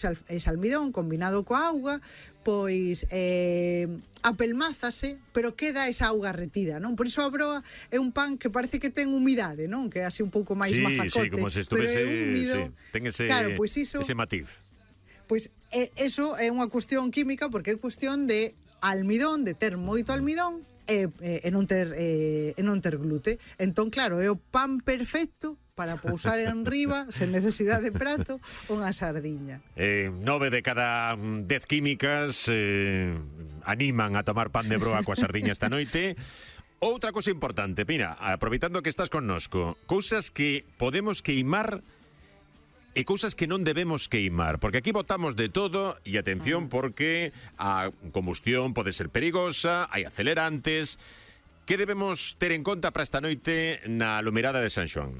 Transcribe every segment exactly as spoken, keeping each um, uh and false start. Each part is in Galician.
ese almidón combinado coa auga, pois eh, apelmázase, pero queda esa auga retida, non? Por iso a broa é un pan que parece que ten humidade, non? Que é así un pouco máis sí, mafacote. Sí, como se estuvese, húmido, sí, ten ese, claro, pois iso, ese matiz. Pois eh, eso é unha cuestión química, porque é cuestión de almidón, de ter moito almidón, e, e, e non ter e, e non ter glute. Entón, claro, é o pan perfecto para pousar en riba, sen necesidade de prato, unha sardiña. Eh, nove de cada dez químicas eh, animan a tomar pan de broa coa sardiña esta noite. Outra cosa importante, mira, aproveitando que estás connosco, cousas que podemos queimar e cousas que non debemos queimar, porque aquí botamos de todo, e atención, porque a combustión pode ser perigosa, hai acelerantes. Que debemos ter en conta para esta noite na Lumeirada de San Xoán?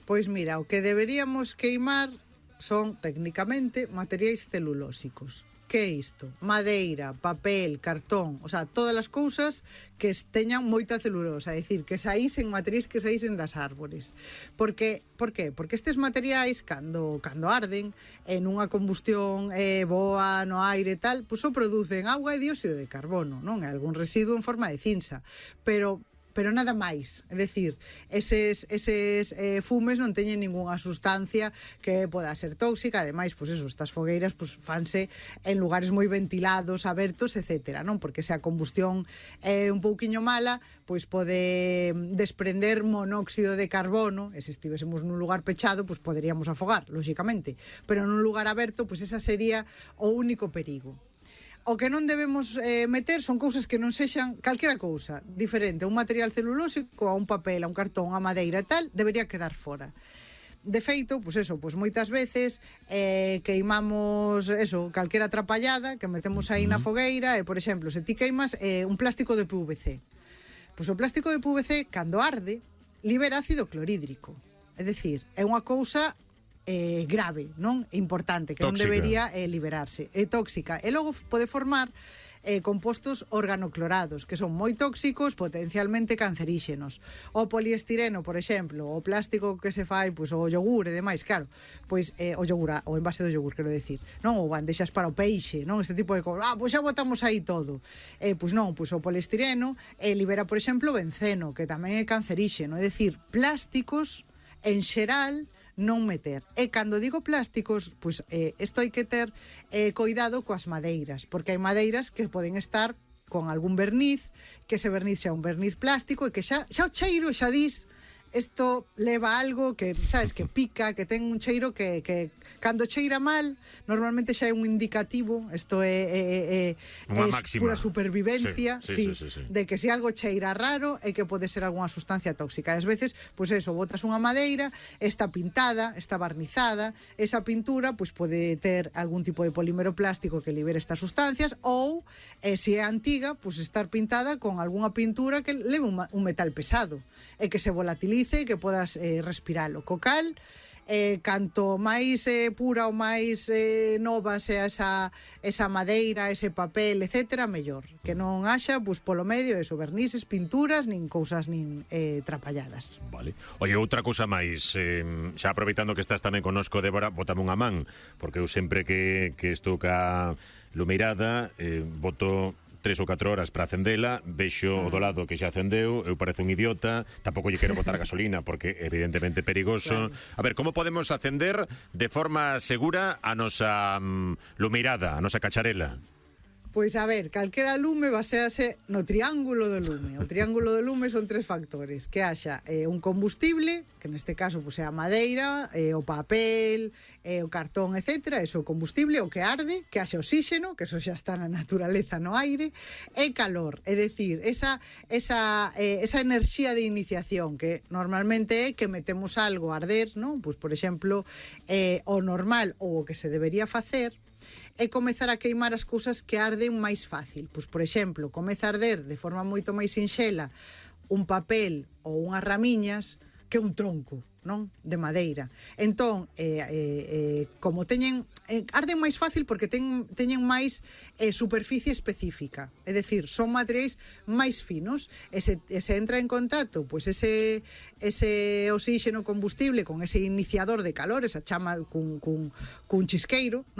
Pois mira, o que deberíamos queimar son, técnicamente, materiais celulósicos. Que é isto? Madeira, papel, cartón, o sea, todas as cousas que teñan moita celulosa, é dicir, que saísen materiais que saísen das árbores. Porque, por qué? Porque estes materiais, cando, cando arden, en unha combustión eh, boa no aire e tal, pois o producen auga e dióxido de carbono, non? É algún residuo en forma de cinza. Pero... pero nada máis, é dicir, eses, eses eh, fumes non teñen ningunha sustancia que poda ser tóxica. Ademais, pois eso, estas fogueiras pois fanse en lugares moi ventilados, abertos, etcétera, non? Porque se a combustión é un pouquiño mala, pois pode desprender monóxido de carbono, e se estivésemos nun lugar pechado, pois poderíamos afogar, lóxicamente, pero nun lugar aberto, pois esa sería o único perigo. O que non debemos eh, meter son cousas que non sexan calquera cousa diferente, un material celulósico, a un papel, a un cartón, a madeira e tal, debería quedar fora. De feito, pois eso, pois moitas veces eh, queimamos eso, calquera atrapallada que metemos aí na fogueira, e por exemplo, se ti queimas eh, un plástico de P V C, pois o plástico de P V C, cando arde, libera ácido clorhídrico. É dicir, é unha cousa Eh, grave, non? Importante, que tóxica. Non debería eh, liberarse. É tóxica. E logo pode formar eh, compostos organoclorados, que son moi tóxicos, potencialmente canceríxenos. O poliestireno, por exemplo, o plástico que se fai, pois, o yogur e demais, claro, pois eh, o yogur, o envase do yogur, quero decir, non? O bandexas para o peixe, non? Este tipo de cosas. Ah, pois xa botamos aí todo. Eh, pois non, pois o poliestireno eh, libera, por exemplo, benceno, que tamén é canceríxeno. É dicir, plásticos, en xeral, non meter. E cando digo plásticos, pois eh, isto hai que ter eh, cuidado coas madeiras, porque hai madeiras que poden estar con algún verniz, que ese verniz xa un verniz plástico e que xa, xa o cheiro xa dis, isto leva algo que, sabes, que pica, que ten un cheiro que, que cando cheira mal, normalmente xa é un indicativo, isto é, é, é, é pura supervivencia, sí, sí, sí, sí, sí, de que se algo cheira raro é que pode ser algunha sustancia tóxica. E ás veces, pois eso, botas unha madeira, está pintada, está barnizada, esa pintura pois pode ter algún tipo de polímero plástico que libere estas sustancias, ou, eh, se é antiga, pois estar pintada con algunha pintura que leve un, un metal pesado e que se volatilice e que podas eh, respiralo. Co cal, eh, canto máis eh, pura ou máis eh, nova sea esa, esa madeira, ese papel, etcétera, mellor. Que non haxa, pois, polo medio, eso, vernices, pinturas, nin cousas nin eh, trapalladas. Vale. Oye, outra cousa máis, eh, xa aproveitando que estás tamén connosco, Débora, botame unha man, porque eu sempre que, que estou ca Lumeirada, eh, boto tres ou catro horas para acendela, vexo o do lado que xa acendeu, eu parezo un idiota, tampouco lle quero botar gasolina porque evidentemente perigoso. Claro. A ver, como podemos acender de forma segura a nosa um, lumeirada, a nosa cacharela? Pois a ver, calquera lume basease no triángulo do lume. O triángulo do lume son tres factores: que haxa eh, un combustible, que neste caso pois, é a madeira, eh, o papel, eh, o cartón, etcétera, eso o combustible, o que arde, que haxe oxígeno, que eso xa está na naturaleza no aire, e calor, é dicir, esa, esa, eh, esa enerxía de iniciación, que normalmente é que metemos algo a arder, non? Pois, por exemplo, eh, o normal ou o que se debería facer é comezar a queimar as cousas que arden máis fácil. Pois, por exemplo, comeza a arder de forma moito máis sinxela un papel ou unhas ramiñas que un tronco, non? De madeira. Entón, eh, eh, eh, como teñen eh, arden máis fácil porque ten, teñen máis eh, superficie específica, é dicir, son materiais máis finos, e se, e se entra en contacto pois ese, ese oxígeno combustible con ese iniciador de calor, esa chama cun, cun, cun chisqueiro, non?